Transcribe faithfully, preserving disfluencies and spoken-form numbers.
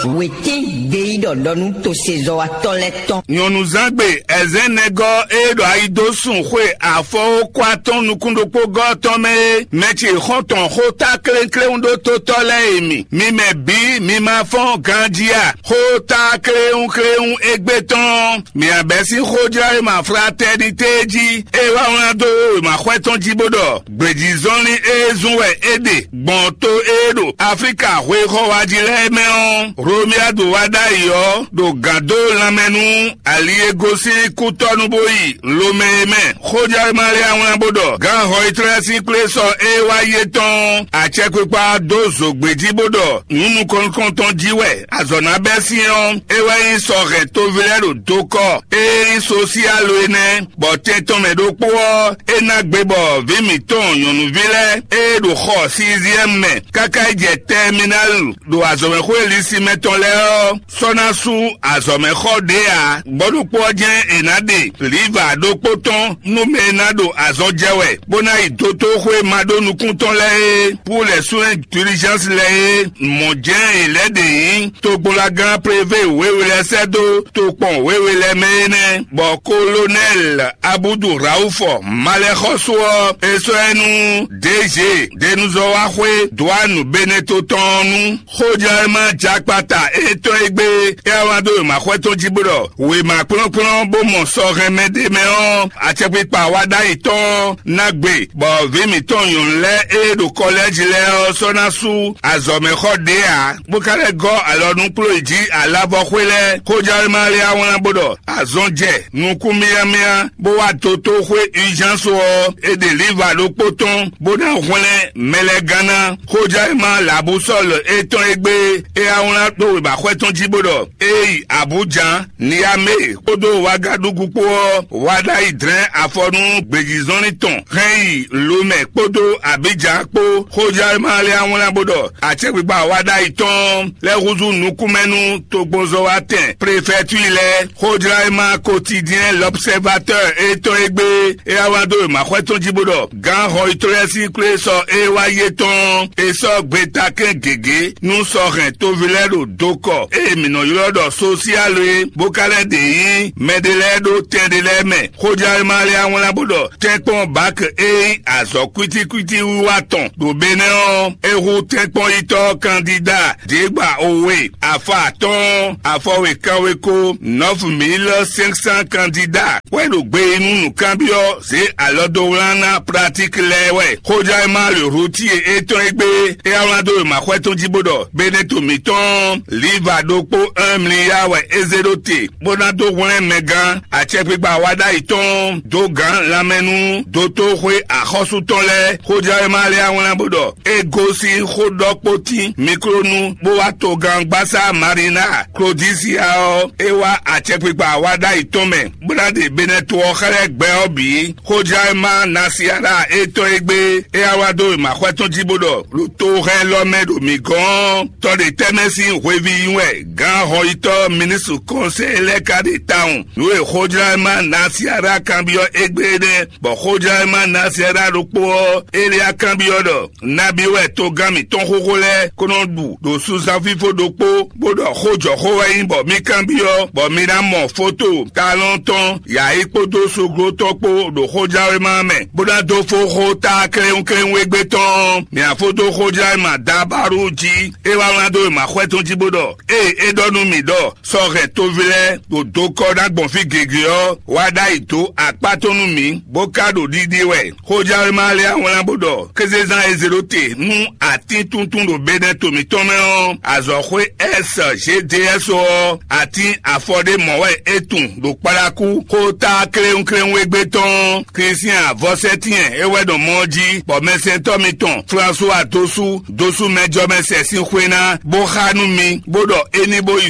Wětín gbeyíɖɔ ɖɔ nú tosezɔ́watɔ́ lɛ́ɛ tɔn. Nyɔ̌nuzán gbe ɛzɛ́nɛgɔ́ e ɖo ayi dó sun xwe afɔwókwa tɔn nukún ɖokpó gɔ́ tɔn mɛ é, mɛ ce xɔ́ntɔn xó ta kléwúnkléwún ɖó tótɔ́ lɛ́ɛ e mi. Mi mɛ bǐ mi ma fɔ́n ganjí a? Xó ta kléwúnkléwún égbé tɔn, mi abɛ́ sín xójlɔ́ e ma fratɛ́nitée jí, é wá wlán dó wěmaxwɛ tɔn jí bó ɖɔ: Gbějízɔnlin e zun wɛ é ɖe gbɔn to e ɖo Aflíka hwexɔ wa jí lɛ́ɛ mɛ ɔ́, Hlomia ɖo wá ɖ'ayǐ ɔ́, ɖo gǎn dó lanmɛ nú ali e gosín kútɔ́ nu bó yi lomɛ é mɛ. Xójɛ́wéma lɛ́ɛ wlán bó ɖɔ: Gǎn Hɔyitɔ́ lɛ́ɛ sín kplé sɔ́ e wá yi é tɔn acɛkpikpa dó zǒgbé jí bó ɖɔ: Nǔ nukɔn nukɔntɔn jí wɛ azɔ̌ ná bɛ́ sín ɔ́, é wɛ nyí sɔ hɛn toví lɛ́ɛ ɖo dokɔ e nyí sosíalo é nɛ́, bɔ tɛn tɔn mɛ ɖokpó ɔ́, é ná gbe bɔ vǐ mǐtɔn nyɔ̌nuví lɛ́ɛ e ɖo xɔ Siziɛ́mu mɛ káká yi jɛ Tɛminali ɖo azɔ̌mɛxwé Lisimɛ tɔn lɛ́ɛ ɔ́, sɔ́ ná sú azɔ̌mɛxɔ ɖě ǎ. Gbɔ̌ ɖokpó ɔ́ jɛ́n è nǎ ɖe lǐva ɖokpó tɔn nú mɛ e ná ɖo azɔn jɛ wɛ, bó ná yi dotóxwé maɖónukún tɔn lɛ́ɛ e, pú lɛ̌ súnlɛ́ dilizánsi lɛ́ɛ e, mɔ̌ jɛ́n è lɛ̌ ɖe nyí togbolagán Prevé wěwe lɛ́ɛ sɛ́ dó tokpɔn wěwe lɛ́ɛ mɛ é nɛ́, bɔ Kolonɛ́li Abúdu Rawúfɔ malɛxɔ́sú ɔ́, é sɔ́ ɛ nú Dězhe Denuzɔ́waxwé Dwánu Beneto tɔn ɔ́ nú. Xójɛ́wéma jakpata étɔn e gbé é wá wlán dó wěmaxwɛ tɔn jí bó ɖɔ: Wěma kplɔ́nkplɔ́n bó mɔ sɔhɛnmɛ ɖé mɛ ɔ́, acɛkpikpa wa ɖ'ayǐ tɔn ná gbe, bɔ vǐ mǐtɔn nyɔ̌nu lɛ́ɛ e ɖo kɔlɛ́ji lɛ́ɛ ɔ́ sɔ́ ná sú azɔ̌mɛxɔ ɖě ǎ, bó ka lɛ́ gɔ́ alɔ nú kpló yi jí alavɔxwé lɛ́ɛ. Xójɛ́wéma lɛ́ɛ wá wlán bó ɖɔ: Azɔn jɛ nukún myámyá bó wá dotóxwé Uzhánsu ɔ́, è ɖe lǐva ɖokpó tɔn bó ná hwlɛ́n mɛ lɛ́ɛ gán ná. Xójɛ́wéma Labusɔ́lu étɔn e gbé é wá wlán dó wěmaxwɛ tɔn jí bó ɖɔ: Ée yi Abujǎn, Niyamée kpódó Wagadugu kpó ɔ́, wá ɖ'ayǐ dlɛ́n afɔ nú gbějízɔnlin tɔn hɛn yi Lomɛ kpódó Abidjan kpó. Xójɛ́wéma lɛ́ɛ wá wlán bó ɖɔ: Acɛkpikpa wa ɖ'ayǐ tɔn lɛ́ húzú nukúnmɛ nú togbonzɔ́watɛn prefɛtúi lɛ́ɛ. Xójlá e ma Quotidien L'Observateur étɔn e gbé é wá wá dó wěmaxwɛ tɔn jí bó ɖɔ: Gǎn Hɔyitɔ́ lɛ́ɛ sín kplé sɔ e wá yi é tɔn, è sɔ́ gbetakɛ́n gěgé nú sɔ hɛn toví lɛ́ɛ ɖo dokɔ e mǐ nɔ ylɔ́ ɖɔ sosiálo é, bó ka lɛ́ ɖe nyí mɛɖé lɛ́ɛ ɖó tɛn ɖé lɛ́ɛ mɛ. Xójlá e ma lɛ́ wá wlán bó ɖɔ: Tɛ́nkpɔ́n Bak e nyí azɔ̌ kwítíkwítí wiwa tɔn ɖo Benɛ́ ɔ́, é hú tɛ́nkpɔ́nyitɔ́ kandída ɖěgbà owe, afɔ atɔ́ɔ́n, afɔwe kanweko, nɔ́fu mǐl sɛ́nksan kandída wɛ ɖo gbe yi nú nǔkanbyɔ́ zě alɔ dó wlán ná pratík lɛ́ɛ wɛ. Xójá e ma le Rutíe étɔn e gbé é wá wlán dó wěmaxwɛ tɔn jí bó ɖɔ: Beneto mǐtɔn Liva ɖokpó Ɛmliya wɛ é zé ɖó te, bó ná dó hwlɛ́n mɛgán acɛkpikpa wa ɖ'ayǐ tɔn dó gǎn lanmɛ nú dotóxwé axɔ́sú tɔn lɛ́ɛ. Xójɛ́wéma lɛ́ɛ wá wlán bó ɖɔ: É gosín xó ɖɔ kpó tín Miklónu, bó wá togán gbásá Marina Klodisia ɔ́, é wá acɛkpikpa wa ɖ'ayǐ tɔn mɛ, bó ná ɖe Benɛto ɔ́ xlɛ́ gbɛ ɔ́ bǐ. Xójɛ́wéma Nasiara étɔn e gbé é wá wá dó wěmaxwɛ tɔn jí bó ɖɔ: Ɖo tohɛn lɔ mɛ ɖo mǐ gɔ́n ɔ́, tɔ ɖe tɛ́ mɛ sín hweví nyi wɛ gǎn hɔnyitɔ́ minísitru kɔnsɛ́ lɛ́ɛ ka ɖe tawun. Nǔ e xójlá e ma Nasiara kanbyɔ́ égbé é nɛ́, bɔ xójlá e ma Nasiara ɖokpó ɔ́, Eliya kanbyɔ́ ɖɔ: Nabí wɛ togán mǐtɔn xóxó lɛ́ɛ ko nɔ ɖu ɖo sunzán fífó ɖokpó, bó ɖɔ xó jɔ xó wɛ nyí bɔ mí kanbyɔ́, bɔ mi ná mɔ foto talɔn tɔn yǎyi kpódó soglo tɔn kpó ɖo xójláwéma mɛ, bó ná dó fó xó ta kléwúnkléwún égbé tɔn. Mǐ ná fó dó xójláwéma Dabaru jí, é wá wlán dó wěmaxwɛ tɔn jí bó ɖɔ: Ée é ɖɔ nú mǐ ɖɔ sɔ́ hɛn toví lɛ́ɛ ɖo dokɔ ná gbɔn fí gěgé ɔ́, wá ɖ'ayǐ dó akpá tɔn nú mǐ, bó ka ɖo ɖiɖi wɛ. Xójláwéma lɛ́ɛ wlán bó ɖɔ: Kézezán e zé ɖó te nú atín tuntun ɖo Benɛto mǐtɔn mɛ ɔ́, azɔ̌xwé S G D S ɔ́, atín afɔ ɖé mɔ̌ wɛ é tun ɖo kpaɖakú. Xó ta kléwúnkléwún égbé tɔn Klísián vɔ̌sɛ́tɛ́n é wɛ ɖo mɔ ɔ́ jí, bɔ mɛsɛntɔ́ mitɔn Flansúwa dó sú dó sú mɛjɔmɛsɛn sín xwé ná, bó xá nú mi, bó ɖɔ é ní bó yi